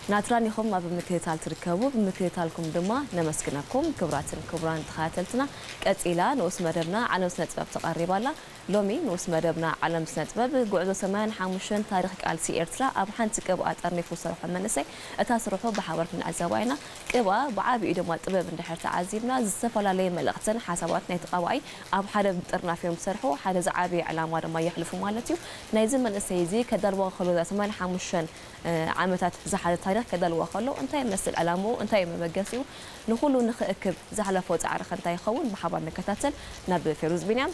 ናትራን ኢኹም ኣብ ምክትታል ትርከቡ፣ ብምክትታልኩም ድማ ነመስግነኩም። ክቡራትን ክቡራን ተኸታተልትና፣ ቀጺላ ንኡስ መደብና ዓለም ስነ ጥበብ ተቐሪባ ኣላ። ሎሚ ንኡስ መደብና ዓለም ስነ ጥበብ ጉዕዞ ሰማንያን ሓሙሽተን ታሪኽ ቃልሲ ኤርትራ ኣብ ሓንቲ ቅብኣ ጠርኒፉ ዝሰርሖ መንእሰይ፣ እታ ስርሑ ብሓባር ክንዕዘባ ኢና። ቅብኣ ብዓቢኡ ድማ ጥበብ እንድሕር ተዓዚብና፣ ዝተፈላለየ መልእኽትን ሓሳባት ናይቲ ቀባኣይ ኣብ ሓደ ምጥርናፍ እዮም ዝሰርሑ። ሓደ ዝዓበየ ዕላማ ድማ የሕልፉ ማለት እዩ። ናይዚ መንእሰይ እዚ ከዳልዋ ከሎ፣ እዛ ሰማንያን ሓሙሽተን ዓመታት ዝሓዘ ታሪኽ ከዳልዋ ከሎ፣ እንታይ ይመስል ዕላምኡ፣ እንታይ እዩ መበገሲኡ፣ ንኹሉ ንኽእክብ ዘሕለፎ ጻዕሪ ከ እንታይ ይኸውን፣ ብሓባር ንከታተል። ናብ ፌሩዝ ቢንያም